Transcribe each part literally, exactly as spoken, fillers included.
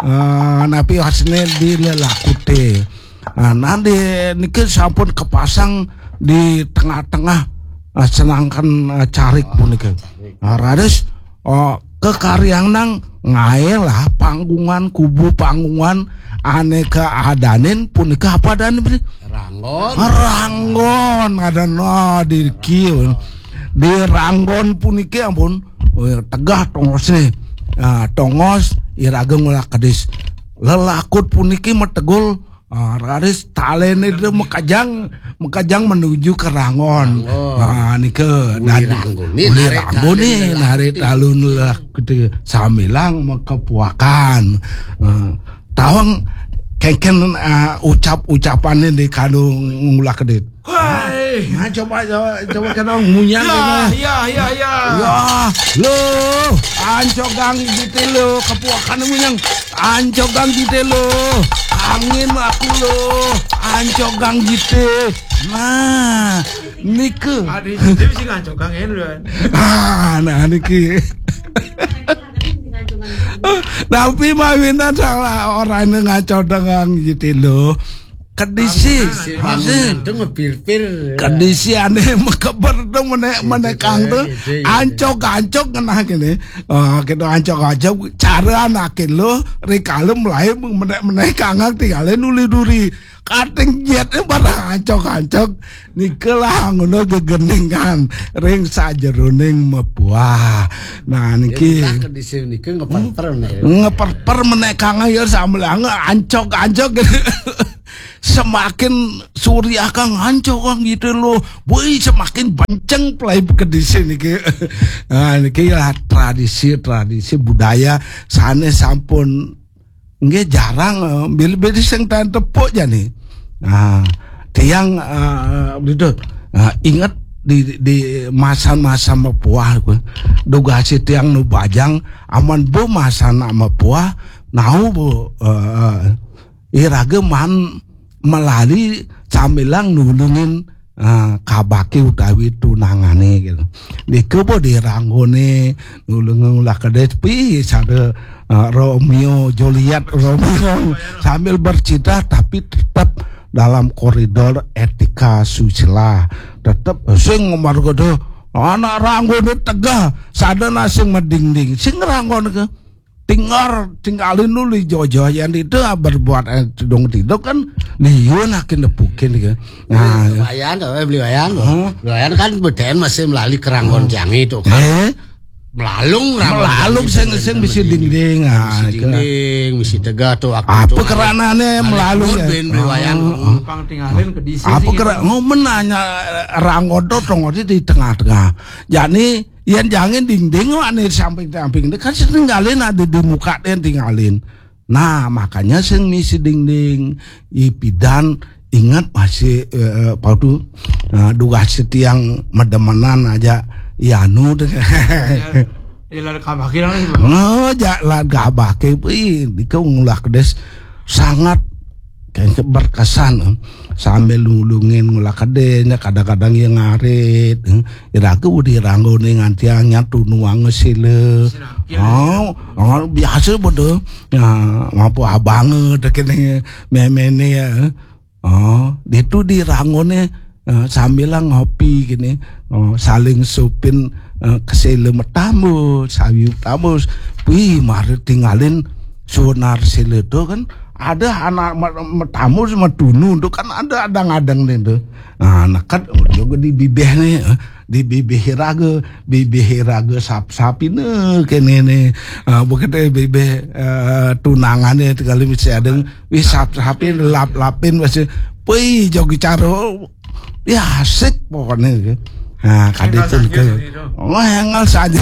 eh, napi wasne di lelakuté. Ah, nah, di niki sampun kepasang di tengah-tengah, eh, senangkan, eh, carik punika. Nah, raris, oh, kekaryang nang ngaé lah panggungan, kubu panggungan ané kaadanin punika apa adanin, Bli? Ranggon. Ranggon, ada no di kieu. Di Ranggon puniki ampun, oh, tegah tongosné. Ah, tongos iraga ngulah kedis. Lelakut puniki mategul, ah, raris taléné itu makejang, makejang menuju ke Ranggon. Ranggon. Ah, nika uli dadi Ranggoné, uli narik Ranggoné, taléné narik talun lah gitu. Sambilang makepuakan. Ah, tawang kéngkén, ah, ucap-ucapané di kanu ngulah kedit. Hai. Nah, coba, coba, coba kena munyang. Ya, ya, ya, ya. Ya, lo, ancogang jité lo, kepuakan munyang. Ancogang jité lo, angin aku lo, ancogang jité. Nah, nike. Ada jité sih ancogang ya, lo. Ah, nah, niki. Tapi mawinah salah orahina ngacogang jité lo. Kedisi, maksud, itu ngepir-pir. Kedisi ané makeber to menék-menékang to. Iya, iya, iya. Ancog-ancog ngenah kéné. Oh, kéto ancog-ancog cara anaké lo, rikala mlaé menék-menékang tingalé nuli duri. Kating jét barang ancog-ancog. Nika lah ngono gegeningan ring sajeroning mepuah. Nah, niki. Ya, kita kedisi nika ngeper-per, nah, ya. Ngeper-per menékang ya sambilang ancog-ancog. Semakin suriakang ancog gitu lo. Woi, semakin benceng play kedisi niki. Nah, niki ya tradisi-tradisi budaya sané sampun nggih jarang, eh, bilih-bilih sing taén tepuk jani. Nah, tiang, eh, gitu. Nah, inget di, di masa-masa mepuah ku. Dugasé tiang nu bajang aman bu masa nak mepuah, nau bu, eh, iraga man melali sambilang nulungin, eh, kabaké utawi tunangané gitu. Nika bo di Ranggoné nulungin ulah kedis pi sada, eh, Romeo Juliet Romeo sambil bercinta tapi tetap dalam koridor etika susila. Tetap sing marga to anak Ranggoné tegah, sada na sing madingding. Sing Ranggoné ke tinggal tinggalin dulu jojo yang itu berbuat, eh, tidung-tidung kan liun akin nepukin ke. Nah, Wayan, eh, beli Wayan. Hah? Beli Wayan kan beden masih melali keranggon tiang itu kan. Eh? Melalung, melalung sing, sing bisi dingding. Ah, bisi dingding, bisi tegah tuh. Apa keranané melalung ya? Ben beli Wayan. Pang tinggalin kedisi. Apa kera-, oh, menanya, eh, Ranggon to, Ranggon di tengah-tengah. Jadi yén jangin dingding ané samping-samping kan sing tinggalin ada di muka dén tinggalin. Nah, makanya sing misi dingding, ipidan inget masih, eh, apa tuh, eh, dugasé tiang medemenan aja, ya anu deh. Ya, ya, lah kabahké lah. Oh, ja, lah kabahké, wih, itu ngulah kedis sangat kayak berkesan, eh. Sambil nulungin ngulah kedisnya, kadang-kadang ya ngarit, eh. Iraga udah Ranggoné ngantiang nyatu nuang sila. Oh, oh, biasa bodoh. Ya, mampu abang, eh, kéné méméné ya. Oh, ditu di Ranggoné, eh, sambilang ngopi kéné. Oh, saling supin, eh, kesela metamus, sawi metamus. Wih, mari tinggalin sonar sila to kan. Ada anak me-, metamus metunu to kan ada, ada ngadang dén to. Nah, neket juga di bibih nih, eh. Di bibih iraga, bibih iraga sap-sapina kéné né. Ah, bukan deh bibih, eh, tunangané kali mesti ada, wih, sap-sapin, lap-lapin, mesti, wih, jogi caro. Ya, asik pokoknya. Nah, kadé pun ke. Oh, engal saja.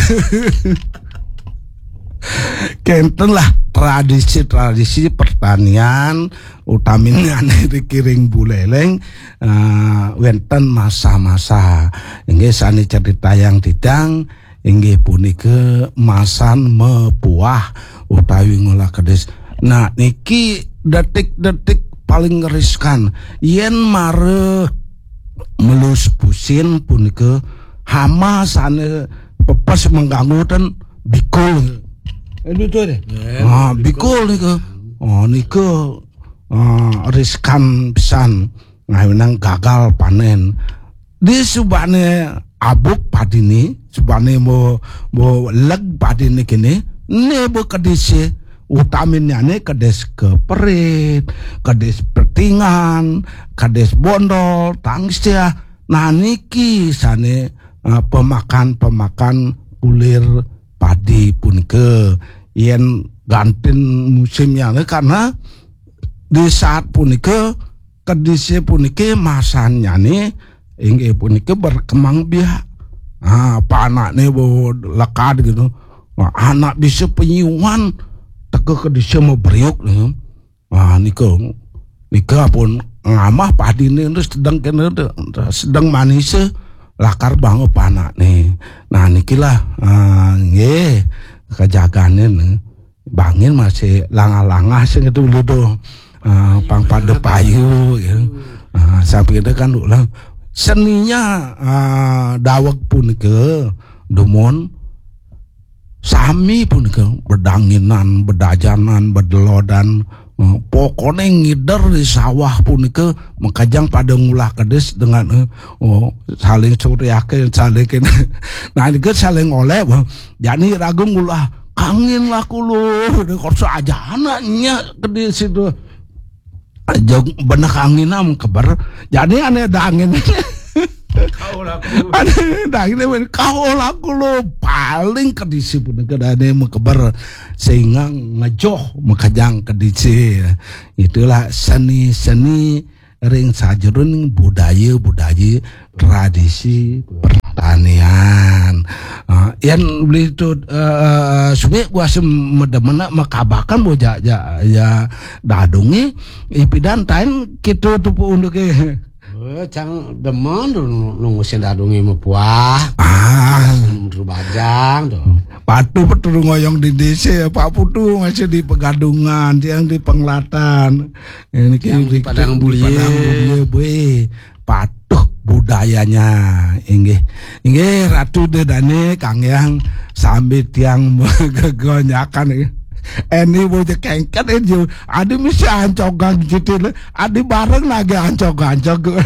Kénten lah tradisi-tradisi pertanian, utaminane ring Buleleng, eh, wénten masa-masa. Inggih sané caritayang titiang, inggih punika masan mepuah utawi ngolah kedis. Nah, niki detik-detik paling riskan. Yén mara melus pusin punika hama sané pepes mengganggu ten bikul. Itu tuh deh. Ah, bikul nika. Oh, nika, ah, riskan pisan ngawinang gagal panen. Di subane abuk padine, subane mo, mo leg padine kene, ne bo kedis, utaminnyane kedis ke perit, kedis petingan, kedis bondol, tangsiah. Nah, niki sane, eh, pemakan-pemakan kulir padi punika. Yen gantin musimnya, karena di saat punika kedise puniki masannyane inggih punika berkembang biak. Ah, panakne bo lekad gitu. Nah, anak bisa penyuan teka kedise maberiuk nih. Nah, nika, nika pun ngamah padine sedeng kene, sedeng manise lakar banget panakne. Nah, nikilah, ah, nggih, kejagane nih. Bangin masih langah-langah sing itu dulu tuh. Ah, pang pada payu ya. Ah, sampai itu kan ulah seninya, ah, daweg punika dumun sami punika bedanginan, bedajanan, bedelodan. Eh, pokoknya ngider di sawah punika makajang pada ngulah kedis dengan, eh, oh, saling suriake, saling kene. Nah, ini kan saling oleh, wah. Jani ragu ngulah angin lah kulo, ini korso aja anaknya kedis itu. Jog benek angin am keber. Jadi ane ada angin. Kau laku. Ane ada angin, men. Kau laku lo paling kedisi pun kedane mekeber sehingga ngejoh makajang kedisi. Itulah seni-seni ring sajeroning budaya-budaya tradisi pertanian. Ah, yan beli tu, eh, subik gua sem medemena makabakan bo ja, ja, ya dadungi ipidan tain kitu tu pu unduke. Eh, cang demen tu nunggu sing dadungi mepuah. Ah, bajang tu. Patu petu ngoyong di desa, Pak Putu masih di Pegadungan, tiang di Penglatan. Ini yang di Padang Bulie. Padang Bulie, bue. Patuh budayanya, inggih. Inggih, Ratu Dedane, Kang Yang, sambil tiang megegonyakan, inggih. Eni bocah kengket, eh, jo. Adi mesti ancogan gitu, le. Adi bareng lagi ancog-ancog.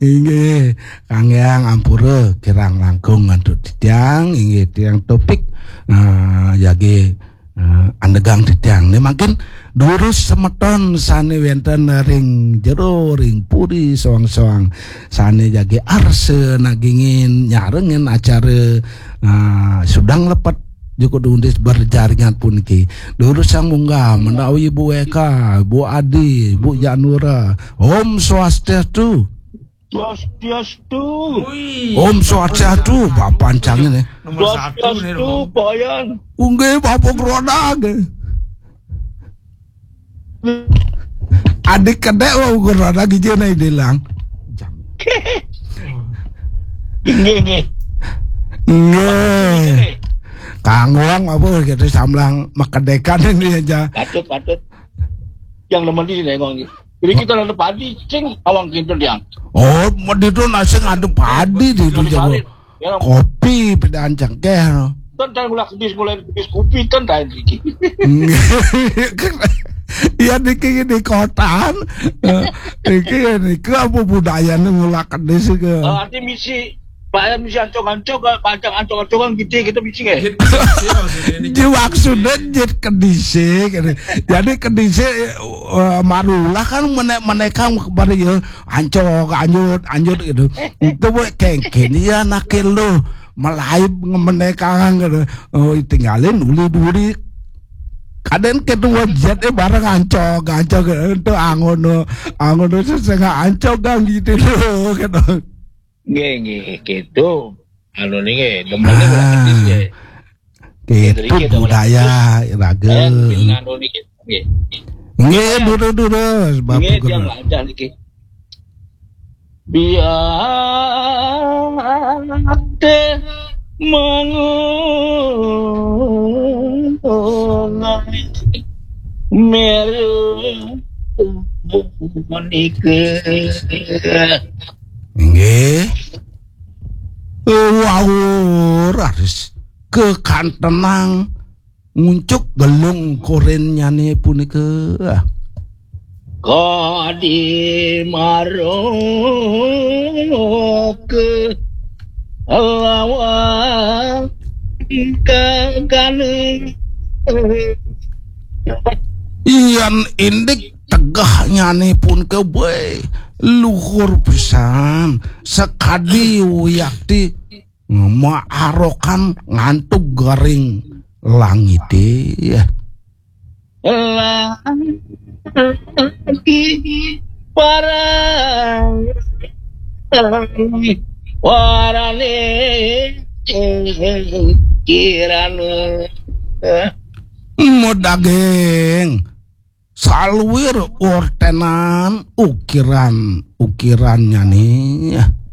Inggih, Kang Yang, ampura, kirang langkung ngantuk titiang, inggih, tiang topik, eh, jagi, eh, andegang titiang. Ini mungkin durus semeton sane wenten ring jero, ring puri, soang-soang. Sane jagi arsa nagingin, nyarengin acara, eh, sudang lepet Joko Dundis berjaringan puniki. Durus sang munggah, menawi Bu Eka, Bu Adi, Bu Janura. Om Swastiastu. Swastiastu. Om Swastiastu, Bapak Ancang ini. Nomor satu nih, Swastiastu, Pak Yan. Unggih, Bapak Grodag. Adik kedek lo ukur ada gigi na ilang. Nggih, nggih. Nggih. Kang Wong apa gitu samlang makedekan ini aja. Patut, patut. Yang nemen di sini, Wong. Jadi kita ada padi, sing awang kintul yang. Oh, mau itu nasi ada padi di itu jago. Kopi pedaan cengkeh. Ten tain mulai kedis, mulai kedis kopi ten tain iki. Iya, niki di kotaan. Eh, iki, niki apa budayane ngulak kedis iki? Eh, arti misi, bayar misi ancog-ancog, ancog-ancog kan gitu, kita misi nggih. Ji maksudnya jit kedise gitu. Jadi kedise, eh, marulah kan menek-menekan kebari ya, ancog, anjut, anjut gitu. Itu buat kengken ya nakil lo. Melaib ngemenekang gitu. Oh, tinggalin uli duri. Kadang kedua jet, eh, bareng ancog, ancog, eh, itu angono, angono sesengah ancog gang gitu loh, gitu. Nggih, nggih, gitu. Anu nih, nggih, demennya ulah kedis, nggih. Gitu, gitu, budaya, raga. Nggih, nggih, dulu, dulu, sebab nggih, tiang lancar niki. Biar deh mengulang meru menikah. Nggih. Wau raris kekantenang nguncuk gelung korinnyané punika. Kadi maroke lawan kagane. Yan indik tegehnyané punika, boy, luhur pisan, sakadi wiakti maarokan ngantuk garing langité. Lagi parang warane kirana. Medaging saluir ortenan ukiran-ukirannyané.